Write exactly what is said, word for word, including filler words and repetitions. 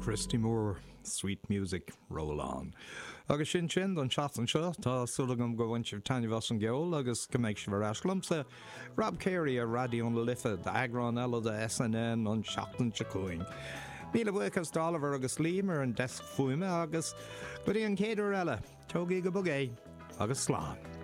Christy Moore, Sweet Music, Roll On. Agus sin sin don tseachtain seo tá súil agam gur bhain sibh taitneamh as an gceol agus go mbeidh sibh ar ais liomsa Rob Carey ar Raidió na Life d'eagrán eile de SNN an tseachtain seo chugainn. Míle buíochas d'Oliver agus Liam ar an deasc fuaime agus go dtí an chéad uair eile, tógaigí go bog é agus slán.